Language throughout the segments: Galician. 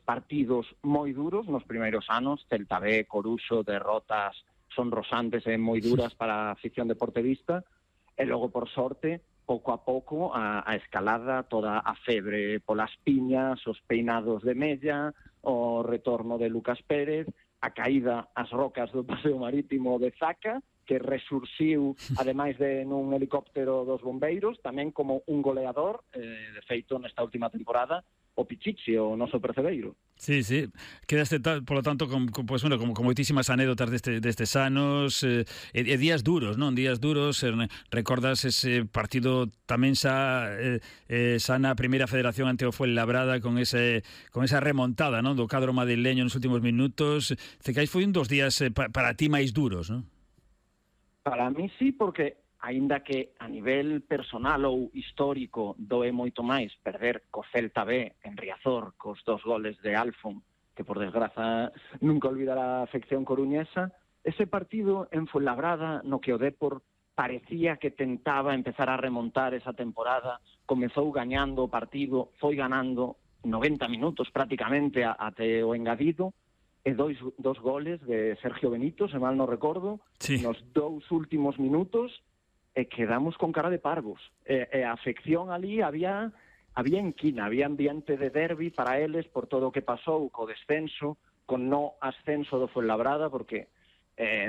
partidos moi duros nos primeiros anos, Celta B, Coruxo, derrotas son rosantes e moi duras para a afición deportivista, e logo, por sorte, pouco a pouco, a escalada, toda a febre polas piñas, os peinados de Mella, o retorno de Lucas Pérez, a caída ás rocas do paseo marítimo de Zaca, que resurxiu, ademais de nun helicóptero dos bombeiros, tamén como un goleador, de feito, nesta última temporada, o Pichichi, o noso percebeiro. Sí, sí. Quedaste, polo tanto, pues, bueno, con moitísimas anécdotas destes anos, e días duros, non? Días duros, recordas ese partido tamén xa na primeira federación ante o Fuenlabrada con esa remontada, non? Do cadro madrileño nos últimos minutos. Cecais foi un dos días para ti máis duros, non? Para mí sí, porque aínda que a nivel personal ou histórico doe moito máis perder co Celta B en Riazor cos 2 goles de Alfon, que por desgraza nunca olvidará a afección coruñesa, ese partido en Fuenlabrada no que o Depor parecía que tentaba empezar a remontar esa temporada, comezou gañando o partido, foi ganando 90 minutos prácticamente até o engadido, e dos goles de Sergio Benito, se mal non recordo, sí, nos 2 últimos minutos, e quedamos con cara de parvos. E a afección ali había enquina, había ambiente de derbi para eles por todo o que pasou co descenso, con no ascenso do Fuenlabrada, porque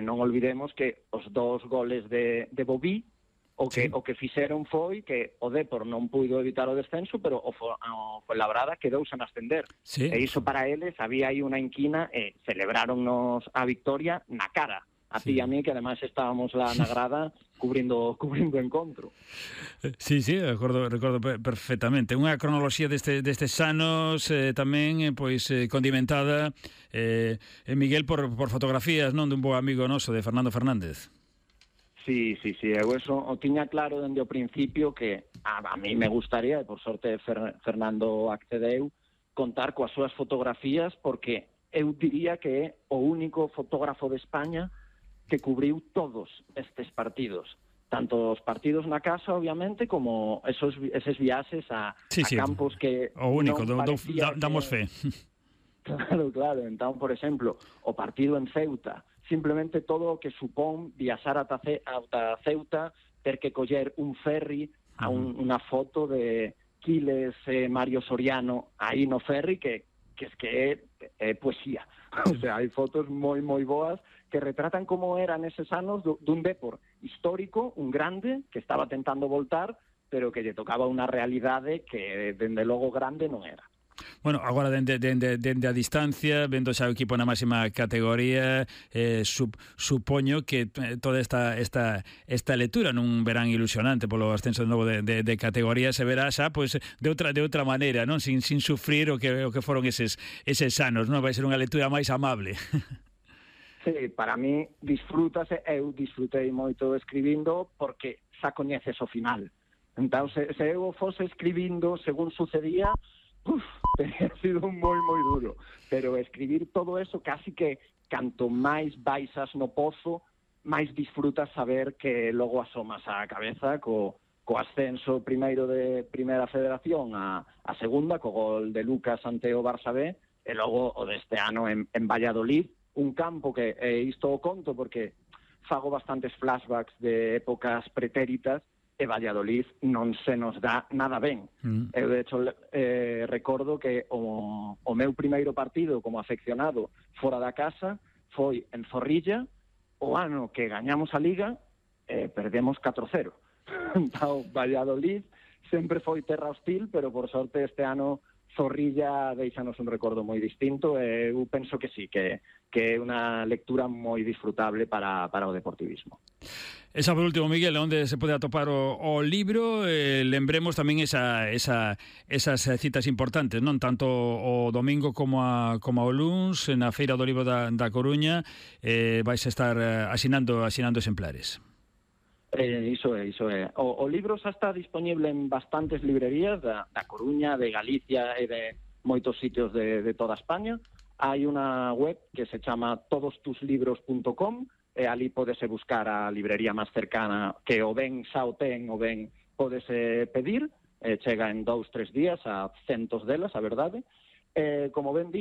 non olvidemos que os 2 goles de Bobí o que fixeron foi que o Depor non puido evitar o descenso, pero o Fuenlabrada quedou sen ascender. Sí. E iso para eles había aí unha enquina e celebraronnos a victoria na cara. A ti e a mí, que ademais estábamos lá na grada cubrindo o encontro. Sí, recordo perfectamente. Unha cronoloxía destes anos tamén condimentada, Miguel, por fotografías, non, dun bo amigo noso, de Fernando Fernández. Sí, eu eso o tiña claro dende o principio que a mí me gustaría, e por sorte Fernando accedeu, contar coas súas fotografías, porque eu diría que é o único fotógrafo de España que cubriu todos estes partidos, tanto os partidos na casa, obviamente, como eses viaxes a campos que o único, damos fe. Claro, entón, por exemplo, o partido en Ceuta, simplemente todo o que supón viaxar ata Ceuta, ter que coller un ferry a unha foto de Quiles e Mario Soriano aí no ferry, que é poesía. O sea, hai fotos moi boas que retratan como era neses anos dun Depor histórico, un grande, que estaba tentando voltar, pero que lle tocaba unha realidade que, dende logo, grande non era. Bueno, agora dende a distancia, vendo xa o equipo na máxima categoría, supoño que toda esta lectura nun verán ilusionante polo ascenso de novo de categoría se verá xa pois de outra maneira, non, sin sufrir o que foron eses anos, non? Vai ser unha lectura máis amable. Sí, para mí disfrútase, eu disfrutei moito escribindo porque xa coñeces o final. Entón, se eu fose escribindo según sucedía, teria sido moi duro. Pero escribir todo eso, casi que canto máis baixas no pozo, máis disfrutas saber que logo asomas a cabeza co ascenso primeiro de Primeira Federación a segunda, co gol de Lucas ante o Barça B, e logo o deste ano en Valladolid, un campo que isto o conto porque fago bastantes flashbacks de épocas pretéritas e Valladolid non se nos dá nada ben. Eu, de hecho, recordo que o meu primeiro partido como afeccionado fora da casa foi en Zorrilla, o ano que gañamos a Liga, perdemos 4-0. Entón, Valladolid sempre foi terra hostil, pero por sorte este ano Zorrilla deixanos un recordo moi distinto, e eu penso que sí, que é unha lectura moi disfrutable para o deportivismo. Esa por último, Miguel, onde se pode atopar o libro, lembremos tamén esas citas importantes, non, tanto o domingo como o luns na Feira do Libro da Coruña, vais a estar asinando exemplares. Iso é. O libro xa está disponible en bastantes librerías da Coruña, de Galicia e de moitos sitios de toda España. Hai unha web que se chama todostuslibros.com, e ali podese buscar a librería máis cercana, que o ben xa o ten, o ben podese pedir, chega en 2-3 días a centos delas, a verdade. Como ben dis,